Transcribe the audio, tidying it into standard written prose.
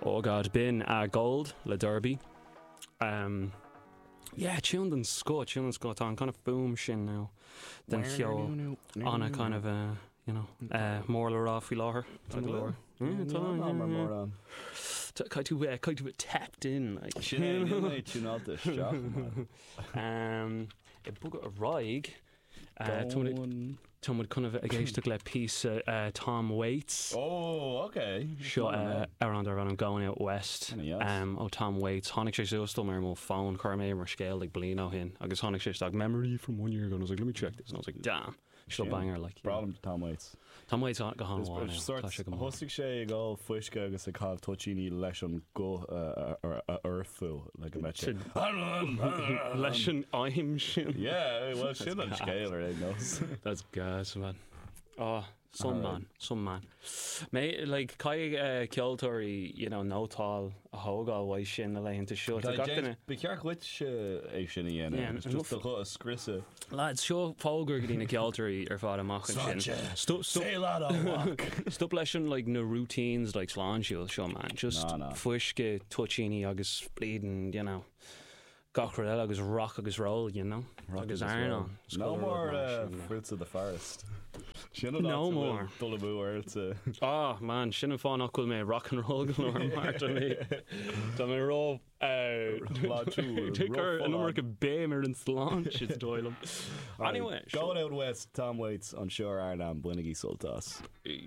Oh God, b'in Gold le Derby. Um, yeah, tune den scoth, tune den scoth. Tá an kind of fuaim sin now den cheol ana kind of uh, you know, uh, mór le rá faoi láthair. Tá go leor. Yeah, tá, yeah, mar yeah. mórán. Tá caithfidh tú bheith, caithfidh tú bheith tapped in, like. Sin é, níl mé tiúnáilte isteach, man. Um, ag bogadh ar aghaidh, Tá muid chun a bheith ag éisteacht le píosa Tom Waits. Oh, ok. Seo amhrán darb ainm Going Out West ó Tom Waits. Tháinig sé suas dom ar mo fón, chuir mé mar scéal like bliain ó shin agus tháinig sé isteach memory from one year ago and I was like let me check this and I was like damn, seo banger like. Breá liom Tom Waits. Tom Waits go han-mhaith now, tá sé go maith. Thosaigh sé ag ól fuisce agus ag caitheamh toitíní leis an guth a fhoirfiú le go mbeadh sé. Leis an aidhm sin. Yeah, well sin an scéal ar aon nós. That's gas, man. Oh, some man, some man. Mé, like, caithfidh ceoltóirí, you know, nótáil a thógáil uaidh sin na laethanta seo. Tá gach duine. Ba cheart dhuit é sin a dhéanamh, just do ghuth a scriosadh. Lads, seo fógra go dtí na ceoltóirí ar fad amach ansin. Sláinte! Sail on, a mhac! Stop leis an like na routines like sláintiúil seo man. Just Ná, ná. fuisce, toitíní agus bleeding, you know, gach rud eile agus rock agus roll, you know. Rock Agus agus roll. airneán. Is No chuile rud more mar uh, sin, yeah. fruits of the forest. Sin an No áit a bhfuil more. dul amú ortsa. Ah man, sin an fáth nach bhfuil mé rock and roll go leor mar tá mé tá mé ró Sláintiúil, Cur an rófholláin. iomarca béim ar an sláinte is dóigh liom. Anyway, Going Out West, Tom Waits, anseo ar RnaG, bainigí sult as. sure.